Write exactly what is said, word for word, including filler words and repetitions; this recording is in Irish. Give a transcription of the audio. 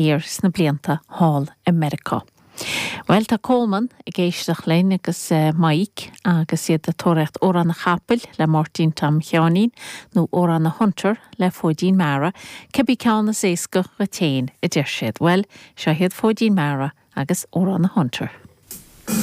thiar sna blianta thall i Meiriceá. Well tá Coleman ag éisteacht linn agus uh, Mike agus iad ag tóraíocht Órán an Chapaill le Máirtín Tom Sheáinín nó Órán a Hunter le Fóidín Mara, cibé ceann is éasca duit féin a deir siad. Well, seo iad Fóidín Mara agus Órán a Hunter.